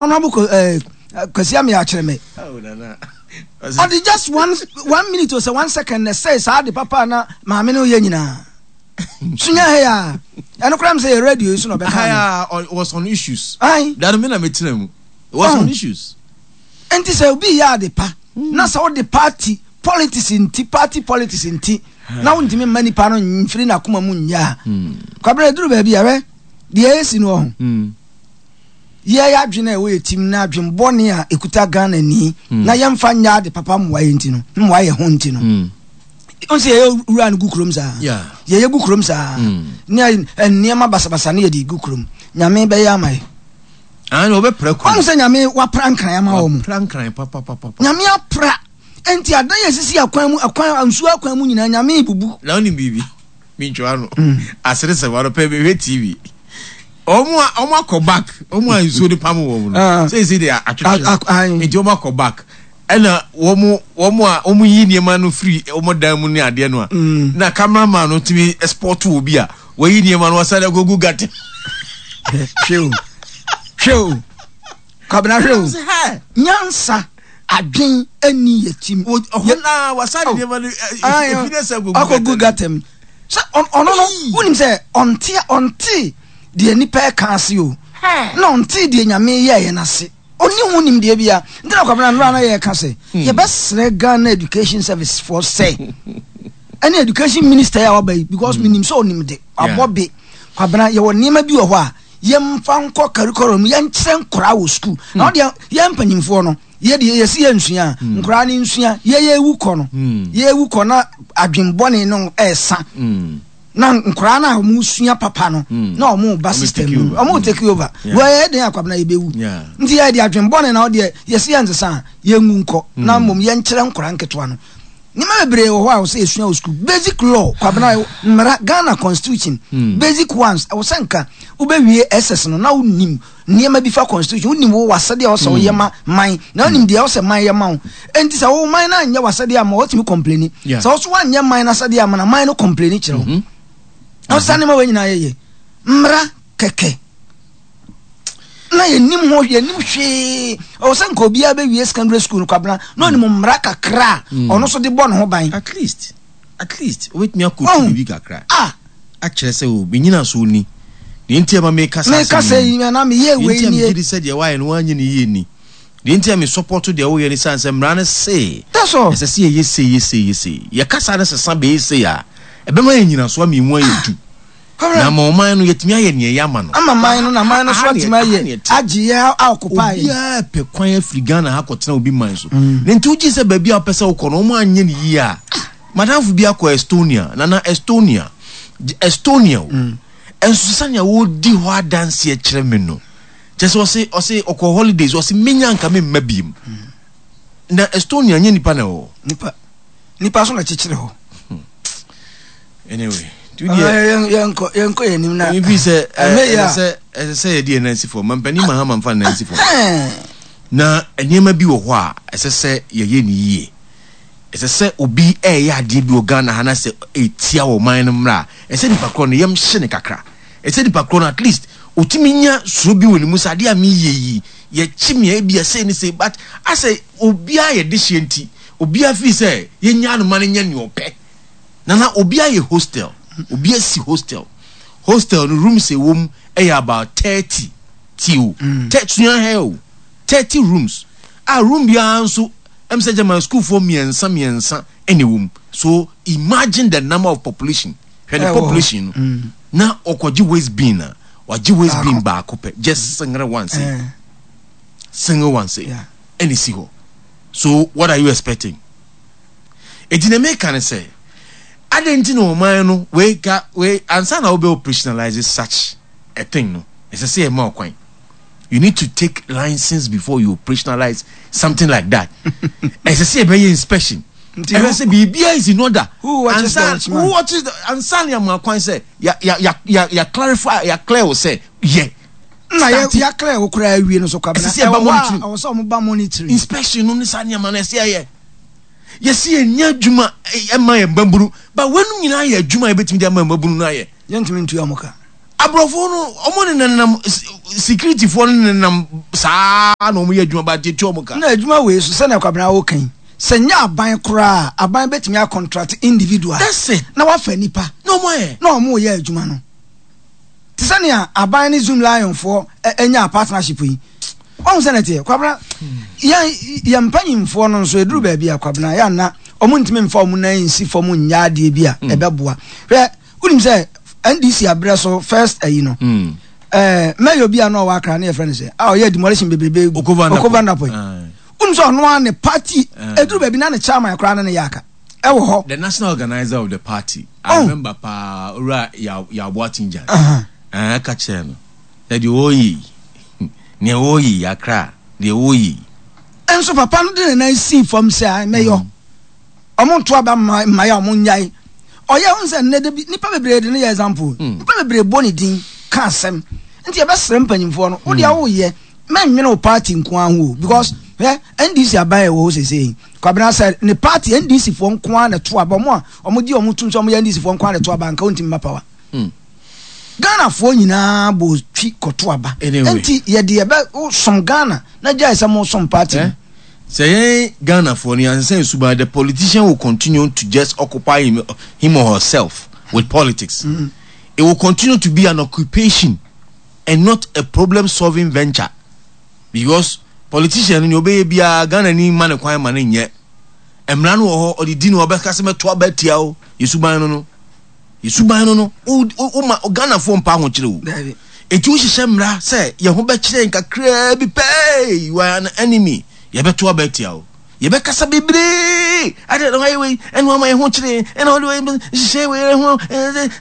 Honorable Ko eh, Kwasi Amia akyerɛ me. Ɔde just one one minute o sɛ one second na ɛsɛe saa ade papa na maame no yɛ nyinaa. Sunya ha ya. Ɛno koraa mi sɛ yɛ radio yi so na ɔbɛka no. Was on issues. Ayi. Dano mi na mi tena mu. It was on issues. Nti sɛ obi yɛ ade pa na sɛ ɔde party politics nti party politics nti na wontumi mma nipa no mfiri n'akoma mu nyɛ a. Kwabena eduru baabi a hwɛ deɛ esi no ɔho. Yɛn adwene a ɛwɔ yɛn tirim ne adwene bɔne a ɛkuta Ghanani hmm. na yɛmfa nyɛ ade papa mmoa yɛn nti no mmoa yɛn ho nti no hmm. n sɛ yɛyɛ wura no gu kurom saa yɛyɛ gu kurom saa hmm. ne nneɛma basabasa ne yɛde gu kurom nyame bɛyɛ ama yɛ ɔn sɛ nyame wapra nkran ama wɔ mu nyame apra nti adan yɛ sisi akwan mu akwan nsuo akwan mu nyinaa nyame bubu na wonim biribi mentwa ano mm. aseresɛm anɔpɛ mehwɛ tv wɔn a wɔn akɔ back wɔn a nsuo de pam wɔn no ah. seesei de atwetwe nti wɔn akɔ back ɛna wɔn wɔn a wɔn yi nneɛma no firi wɔn dan mu ne adeɛ no a mm. na cameraman no tumi sport wɔ bi a wɔyi nneɛma no wɔsan agogu gata. hwɛ o hwɛ o kwabena hwɛ o nyansa adwen ɛni yɛ tim. ɔhɔ naa wasan de nneɛma no efi ne sɛ agogu gata mu. Sɛ ɔno no wonim sɛ ɔnte ɔnte deɛ nipa ɛka ase o na ɔnte deɛ nyame yɛɛyɛ no ase ɔni ho nimdeɛ bia nti na kwabena nnora na yɛka sɛ hmm. yɛbɛsrɛ Ghana Education Service foɔ sɛ ɛne education minister a waba yi because hmm. menim sɛ ɔnim de abɔ be kwabena yɛwɔ nneɛma bi wɔ hɔ a yɛmfa nkɔ curriculum yɛnkyerɛ nkoraa wɔ school na ɔdeɛ hmm. yɛn mpanyimfoɔ no Yɛ deɛ yɛsi yɛ nsua a, hmm. nkoraa no nsua. Yɛ yɛ ewu kɔ no, hmm. yɛ ewu kɔ na adwenbɔne no ɛɛsa. Hmm. Na nkoraa no a wɔn sua papa no, na wɔn ba system no, wɔn take over. Wɔ yɛ den akwabena yɛ bɛwu. Nti yɛ de adwenbɔne na ɔdeɛ yɛsi yɛ nsesa a, yɛ ngu nkɔ. Na mmom yɛnkyerɛ nkoraa nketewa no. Nneɛma bebree wɔ hɔ a wɔsɛ yɛsua wɔ sukuu. Basic law, Kwabena, mmara, Ghana constitution, basic ones, ɛwɔ sɛ nka wobɛwie SS no na wonim nneɛma bi fa constitution, wonim wo w'asɛdeɛ a ɔsɛ woyɛ ma man, na wonim deɛ ɔsɛ man yɛ ma wo. Enti sɛ wo man no anyɛ w'asɛdeɛ ama wo, wotumi complaini. Sɛ wo so woanyɛ man no asɛdeɛ ama na man no complaini kyerɛ wo. Mm-hmm. Ɔsɛ nneɛma wei nyinaa yɛyɛ mmara kɛkɛ. na yɛnim ho yɛnim hwee ɔwɔ sɛ nka obiara bɛwie secondary school no kwabena na ɔnim mmara kakra a mm. ɔno nso de bɔ ne ho ban at least at least wobɛtumi akɔtu oh. biribi kakra ah. akyerɛ sɛ o menyina so ni deɛ nti ɛma meka saa meka sɛ yi na meyɛ wei nie deɛ nti a megye di sɛ deɛ woayɛ no woanyɛ ne yie ni deɛ nti a me support deɛ woyɛ no sane sɛ mmara no se ɛsɛ sɛ yɛyɛ sei yɛ sei yɛ sei yɛkasa no sesa bɛyɛ sei a ɛbɛma yɛ nyinasoɔ ama ɛmu ayɛ du Na ama ɔman no yɛatumi ayɛ nea ɛyɛ ama no. Ama man no na man no so atumi ayɛ agye yɛ akɔpa yɛ. Obiara pɛ kwan afiri Ghana ha kɔtena obi man so. Mm. Na nti wogye sɛ baabi a wopɛ sɛ wokɔ no wɔn anyɛ no yie a. Madamfo bi akɔ Estonia, nana Estonia, Estonia o. Mm. Ɛnso sɛnea wɔdi hɔ adanseɛ kyerɛ me no, kyɛ sɛ ɔse ɔse ɔkɔ holidays ɔse menya nka memma biem. Mm. Na Estonia nyɛ nipa na ɛwɔ. Nipa nipa so na kyekyere hɔ. Hmm. Anyway, tu deɛ. Yɛnkɔ yɛnkɔ yɛn anim na. Ebi fi sɛ ɛsɛ sɛ ɛsɛ sɛ yɛde yɛn nan si fam. Mampanin Mahama nfa nan si fam. Na nneɛma bi wɔ hɔ a ɛsɛ sɛ yɛyɛ ne yie. Ɛsɛ sɛ obi ɛyɛ adeɛ bi wɔ Ghana ha na sɛ ɛtia wɔ man no mmra a, ɛsɛ nipa korɔ no yɛm hye ne kakra. Ɛsɛ nipa korɔ no at least otumi nya suro bi wɔ ne mu sɛ adeɛ a meyɛ yi yɛkye me a ebi ɛsɛ ne sɛ but asɛ obiara yɛ dehyeɛ nti obiara firi sɛ yɛnyaa no ma no nyɛ nea ɔpɛ. Nana obi ayɛ hostel, obi asi hostel. Hostel no rooms ɛwɔ mu ɛyɛ about 30 ti o. Mm. Sua hɛ o. 30 rooms. A room biara nso ɛm sɛ gyama sukuufoɔ mmiɛnsa mmiɛnsa ɛna ɛwɔ mu. So imagine the number of population. Hwɛ ne population no. Mm. Na ɔkɔgye waste bin a, wagye waste bin baako pɛ. Just single one say. Eh. Single one say. Ɛna esi hɔ. So what are you expecting? Enti nea meka ne sɛ, adɛn nti na ɔman no wei ka wei ansa na wobɛ operationalize such a thing no, ɛsɛ sɛ yɛma ɔkwan. You need to take license before you operationalize something like that. Ɛsɛ sɛ yɛbɛyɛ inspection. Ɛhwɛ sɛ biribiara is in order. Who watches the watchman? Who watches the ansa na yɛama kwan sɛ ya ya ya ya ya clarify ya clear wo sɛ yɛ. Na yɛ ya clear wo koraa awie no so kwabena. Ɛsɛ sɛ yɛba monitoring. Ɛwɔ sɛ wɔn ba monitoring. Inspection no ne saa nneɛma no ɛsɛ yɛyɛ. Yɛsi yɛn nyɛ adwuma ɛma yɛn mmabunu ba wɔn nyinaa yɛ adwuma a yɛbɛtumi de ama mmabunu no ayɛ. Yɛntumi ntua wɔn ka. Aborɔfo no, wɔn nenam security foɔ no nenam saa na wɔn yɛ adwuma ba yɛtua wɔn ka. Na adwuma wei so sɛnea Kwabena woka yi, sɛ nyɛ aban koraa a, aban bɛtumi a contract individual. That's it. Na wafa nipa. Na wɔn ayɛ. Na wɔn reyɛ adwuma no. Te sɛ nea aban ne Zoom Lion foɔ nyaa partnership yi. Wahu sɛ na ɛteɛ? Kwabena, yɛn yɛn mpanyinfoɔ no nso ɛduru baabi a Kwabena yɛ anna wɔn ntumi mfa wɔn nan nsi fam nyɛ adeɛ bi a ɛbɛboa. Hwɛ, wonim sɛ NDC abrɛ so first ayi no, ɛɛ mɛyɛ obi a na ɔwɔ Accra ne yɛfrɛ no sɛ a ɔyɛ demolition bebrebe gu Oko Vanderpoel. Wonim sɛ ɔno ara ne party ɛduru baabi na ne chairman koraa ne ne yɛ aka ɛwɔ hɔ. The national organizer of the party, I remember paa, Owura Yaw Yaw Boateng Gyan, ɛɛ ka kyerɛ no. Na deɛ ɔreyɛ yi, nea ɔreyɛ yi, Accra, deɛ ɔreyɛ yi. Nso papa no de ne nan sii fam sɛ, Ae, mɛyɔ. Ɔmo nto aba mma mmaeɛ a ɔmo nnyae. Ɔyɛ, wohu sɛ nnɛ da bi, nnipa bebree de no yɛ example. Nnipa bebree bɔ ne din ka asɛm. Nti yɛbɛsrɛ mpanyinfoɔ no, wo deɛ woyɛ, mɛnnwene wo party nko ara ho o. Because, hwɛ, NDC aban a ɛwɔ hɔ seesei yi, Kwabena sɛ ne party, NDC foɔ nko ara na ɛto aba, ɔmo a ɔmo gye ɔmo tom sɛ ɔmo yɛ NDC foɔ nko ara na ɛto aba, anka ɔntumi mma power. Ghana foɔ nyinaa bɔ twi kɔto aba. Nti yɛde yɛbɛ som Ghana na gyae sɛ mo som party no. Sɛ yɛn Ghana foɔ no yɛansesa yɛn suban the politician will continue to just occupy him, him or herself with politics. Mm. It will continue to be an occupation and not a problem solving venture because politician no nea ɔbɛyɛ biara Ghana ni ma ne kwan ma ne nyɛ. Mmara no wɔ hɔ ɔde di no ɔbɛka sɛ mɛto aba atia o yɛ suban no no. Yɛ suban no no, woma Ghanafoɔ mpa ahokyere o. Enti wohyehyɛ mmara sɛ yɛn ho bɛkyerɛ yɛn kakraa bi pɛ, you are an enemy, yɛbɛto aba atia wo. Yɛbɛkasa bebree, adɛn na woayɛ wei, ɛna wama yɛn ho kyerɛ yɛn, ɛna wode wei hyehyɛ wei ho,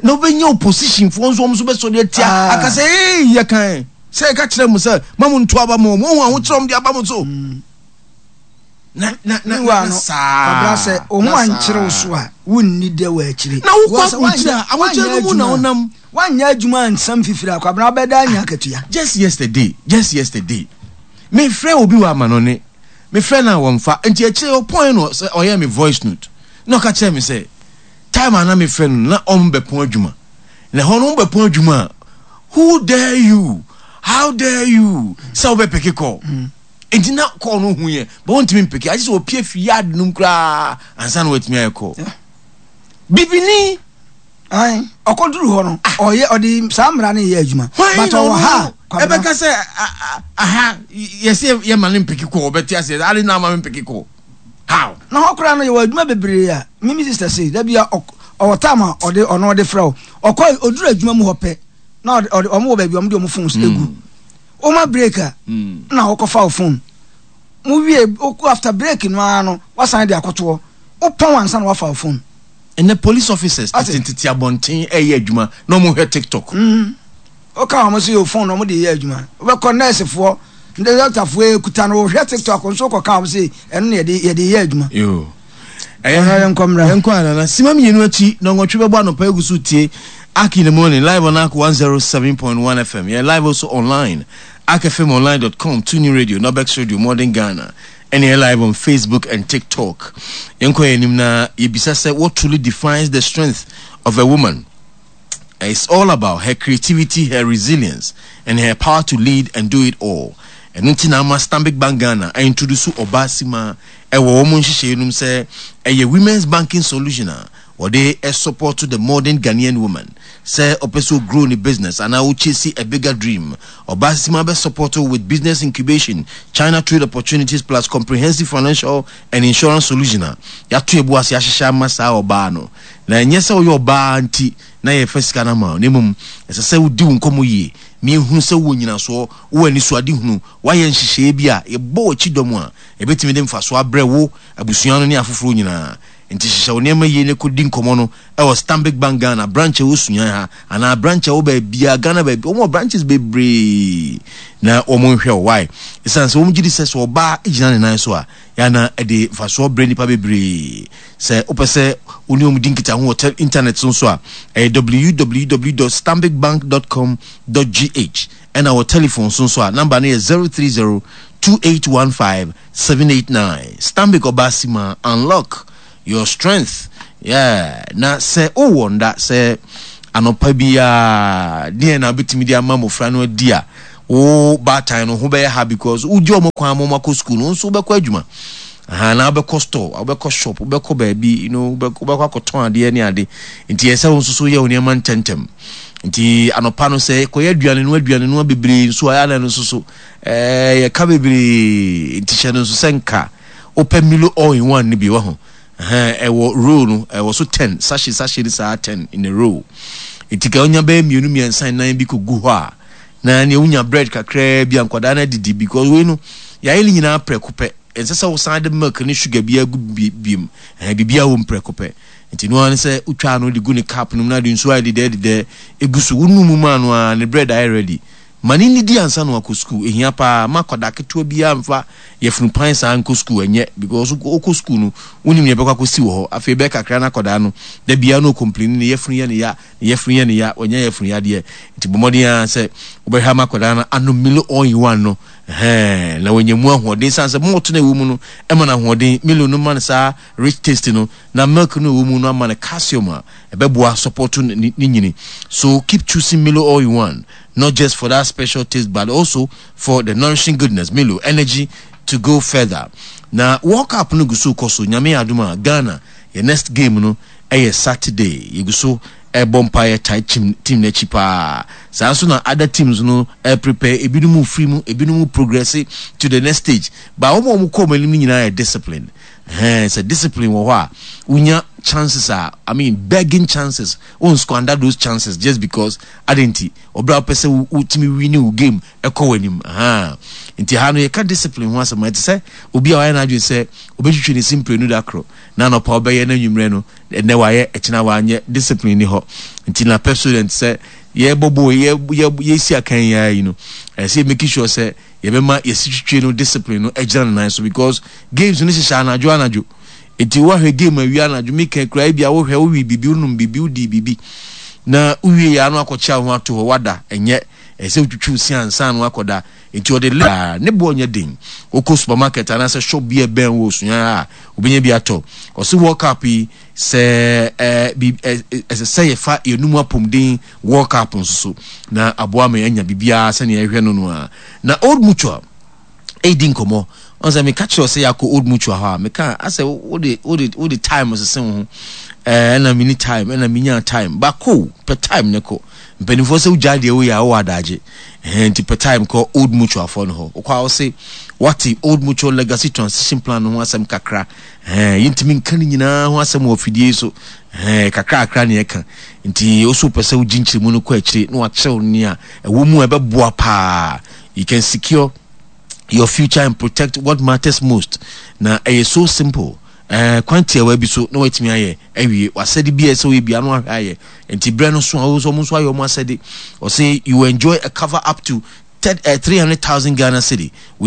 na wobɛnya oppositionfoɔ nso wɔn nso bɛsɔre atia, ah. aka sɛ, ee, yɛkan sɛ yɛka kyerɛ mo sɛ ma mo nto aba mo, mo ho ahokyerɛ wɔn de aba mo so. Mm. Na na na na saa. Kwabena sɛ wo ho ankyere wo so a wonni dɛ wɔ akyire. Na wokɔ aburokyire a ahokyere no mu na wonam. Woanyɛ adwuma ansa mfifiri a Kwabena wobɛda anya akatua. Just yesterday just yesterday me frɛ obi wɔ amanɔne me frɛ no a wɔnfa nti akyire ɔpɔn no sɛ ɔyɛ me voice note na ɔka kyerɛ me sɛ time a na me frɛ no na ɔmo bɛpɔn adwuma na ɛhɔ no ɔmo bɛpɔn adwuma a who dare you how dare you sɛ wobɛpeke call. Mm. Enti na kɔɔ no hu yɛ, but wɔntumi mpeke. Agye sɛ wɔpie fi yard no mu koraa ansa na wɔatumi ayɛ kɔɔ. Bibini. Ayi, ɔkɔduru hɔ no, ah. ɔyɛ ɔde saa mmara no yɛ adwuma. But ɔwɔ ha. Ɛbɛka sɛ aha yɛsɛ yɛma no mpeke kɔɔ, ɔbɛte aseɛ. Ade na ama me mpeke kɔɔ. How? Na hɔ koraa no yɛwɔ adwuma bebree a mimi sister sei da bi a ɔwɔ time a ɔde ɔno ɔde frɛ wo. Ɔkɔ ɔduru adwuma mu hɔ pɛ na ɔde ɔde ɔmo wɔ baabi ɔmo de ɔmo phones egu. Woma break a na wokɔfa wo phone. Mo wie after break no ara no wasan de akɔtoɔ. Wopɔn ansa na wafa wo phone. Ɛnɛ police officers tete tete abɔnten ɛyɛ adwuma na wɔn hwɛ tiktok. Mm. Woka wɔn so yɛ phone na wɔn de yɛ adwuma. Wobɛkɔ nurse foɔ, doctor foɔ ekuta no wɔhwɛ tiktok nso kɔka wɔn se ɛno na yɛde yɛde yɛ adwuma. Yoo. Ɛyɛ yɛnkɔ mmra. Yɛnkɔ anana. Sima mmienu akyi na nwɔtwe bɛbɔ anɔpa egu so tie Ark in the morning live on Ark 107.1 FM. Yɛ live also online. arkfmonline.com, TuneIn Radio, Nobex Radio, Modern Ghana. Ɛne yɛ live on Facebook and TikTok. Yɛnkɔ yɛn anim na yɛbisa sɛ what truly defines the strength of a woman? It's all about her creativity, her resilience, and her power to lead and do it all. Ɛno nti na ama Stanbic Bank Ghana introduce ɔbaa sima ɛwɔ wɔn nhyehyɛeɛ no mu sɛ ɛyɛ women's banking solution a wɔde support the modern Ghanaian woman sɛ ɔpɛ sɛ ɔgrow ne business anaa ɔchase a bigger dream. Ɔbaa Sima bɛ support wo with business incubation, China trade opportunities plus comprehensive financial and insurance solution a yɛato yɛn bo ase ahyehyɛ ama saa ɔbaa no. Na ɛnyɛ sɛ woyɛ ɔbaa nti na yɛfa sika no ama wo na mmom ɛsɛ sɛ wodi wo nkɔmmɔ yie ma yɛhunu sɛ wowɔ nyinasoɔ, wowɔ anisoadehunu, woayɛ nhyehyɛeɛ bi a yɛbɔ w'akyi dɔm a ɛbɛtumi de mfasoɔ abrɛ wo, abusua no ne afoforɔ nyinaa. Enti hyehyɛ wo nneɛma yie na kɔdi nkɔmmɔ no wɔ Stanbic Bank Ghana branch a ɛwɔ Sunyani ha anaa branch a ɛwɔ baabiara, Ghana baabi, wɔn wɔ branches bebree na wɔn nhwɛ wo. Why? Ɛsiane sɛ wɔn gye di sɛ sɛ ɔbaa gyina ne nan so a, yɛ na ɛde mfasoɔ brɛ nnipa bebree. Sɛ wopɛ sɛ wo ne wɔn di nkitaho wɔ internet so nso a, ɛyɛ www.stanbicbank.com.gh ɛna wɔ telephone so nso a, number no yɛ 030 2815 789 Stanbic Obasima unlock your strength yeah na sɛ wowɔ nda sɛ Anɔpa biara, deɛn na wobɛtumi de ama mmɔfra no adi a wo baatan no ho bɛyɛ ha because wogye wɔn kwan ma wɔakɔ sukuu no, wo nso wobɛkɔ adwuma. Aha, na wobɛkɔ store, wobɛkɔ shop, wobɛkɔ baabi, you know, wobɛkɔ akɔtɔn adeɛ ne ade. Nti ɛsɛ wo nso so yɛ wo nneɛma ntɛmntɛm. Nti anɔpa no sɛ kɔyɛ aduane no aduane no bebree nso a ɛna no nso so ɛɛ yɛka bebree. Nti hyɛ no nso sɛ nka wopɛ Milo all in one no bi wɔ ho. Ɛhɛn, ɛwɔ row no, ɛwɔ so ten, sachet sachet no saa ten in a row. Nti ka wonya bɛyɛ mmienu mmiɛnsa nnan bi kɔgu hɔ a, na nea wonya bread kakraa bi a nkwadaa no adidi because wei no, yɛayɛ ne nyinaa prɛko pɛ. Ɛnsɛ sɛ wosan de milk ne sugar biara gu biom. Ɛhɛn, biribiara wɔ mu prɛko pɛ. Nti no ara ne sɛ wotwa ano de gu ne cup no mu na de nsuo ayɛ dedɛɛ dedɛɛ egu so. Wonu mu ma no ara, ne bread ayɛ ready. Ma no nnidi ansa na wakɔ sukuu. Ehia paa. Mma akwadaa ketewa biara mfa yafunu pan saa nkɔ sukuu. Ɛnyɛ because wokɔ sukuu no, wonim nea ɛbɛkɔ akɔsi wɔ hɔ. Afei ɛbɛyɛ kakra na akwadaa no, da biara na ɔcomplaini, ne yafunu yɛ no ya, ne yafunu yɛ no ya, wanya yafunu yadeɛ. Nti bɔ mmɔden ara sɛ wobɛhwɛ ama akwadaa no anom Milo all in one no, ɛhɛn, na wanya mu ahoɔden. Esiane sɛ malt no a ɛwɔ mu no ma no ahoɔden, Milo no ma no saa rich taste no, na milk no a ɛwɔ mu no ama no calcium a ɛbɛboa support ne nyini. So keep choosing Milo all in one. Not just for that special taste but also for the nourishing goodness Milo energy to go further Na World Cup no gu so rekɔ so Nyame yɛ adom a Ghana yɛ next game no yɛ Saturday Yɛgu so rebɔ mpaeɛ tae team team no akyi paa Saa nso na other teams no reprepare Ebinom refiri mu ebinom reprogresse to the next stage But wɔn a wɔkɔ wɔn anim no nyinaa yɛ discipline Ɛhɛn sɛ discipline wɔ hɔ a wonya chances a I mean begging chances Won squander those chances just because adɛn nti ɔbrɛ a wopɛ sɛ wotumi wini wo game ɛkɔ w'anim ahaa nti ha no yɛka discipline ho asɛm ɛte sɛ obi a wayɛ n'adwene sɛ obɛtwitwi ne se mprenu da koro na anɔpa ɔbɛyɛ na anwummerɛ no ɛnɛ wayɛ ɛkyena wanyɛ discipline ni hɔ nti na Pepsodent sɛ yɛbɔ bɔ yɛsi akan yi ara yi no ɛsɛ yɛ make sure sɛ yɛbɛma yɛsi twitwi no discipline no agyina ne nan so because games no hyehyɛ anadwo anadwo Enti woahwɛ game awia anadwo meka koraa ebia wohwɛ wowe biribi wonom biribi wodii biribi na wowie yɛ ano akɔkyea wo ho ato hɔ wada ɛnyɛ ɛsɛ sɛ wotwitwi wo se ansa na wakɔda enti ɔde le ne boɔ nyɛ den wokɔ supermarket anaasɛ shop bi a ɛbɛn wo osua a wobɛnya bi atɔ ɔse World Cup yi sɛ ɛɛ bi ɛsɛ sɛ yɛfa yɛnum apɔmuden World Cup nso so na aboa ma yɛanya biribiara sɛnea yɛhwɛ no no a na Old Mutual redi nkɔmmɔ. Ɔn sɛ meka kyerɛ sɛ yɛakɔ Old Mutual hɔ a, meka asɛ wode wode wode time sese wo ho. Ɛɛ ɛna mini time, ɛna minya time. Ba kɔ pɛ time ne kɔ. Mpanimfoɔ sɛ wogyae deɛ woyɛ a wowɔ adagye. Ɛhɛn nti pɛ time kɔ Old Mutual foɔ no hɔ. Wokɔ a wose wate Old Mutual Legacy Transition Plan no ho asɛm kakra. Ɛhɛn yɛntumi nka ne nyinaa ho asɛm wɔ afidie yi so. Ɛhɛn kakra kakra ne yɛka. Nti wo so wopɛ sɛ wogye nkyerɛmu no kɔ akyire na wakyerɛw nea ɛwɔ mu a ɛbɛboa paa. You can secure your future and protect what matters most. Na ɛyɛ so simple. Eh, kwan tiawa bi so na watumi ayɛ awie. Wasɛde bi a ɛsɛ woyɛ bia no ahwɛ ayɛ. Nti berɛ no so a wo nso ɔmo nso ayɛ ɔmo asɛde. Ɔse you enjoy a cover up to 300,000 Ghana cedi.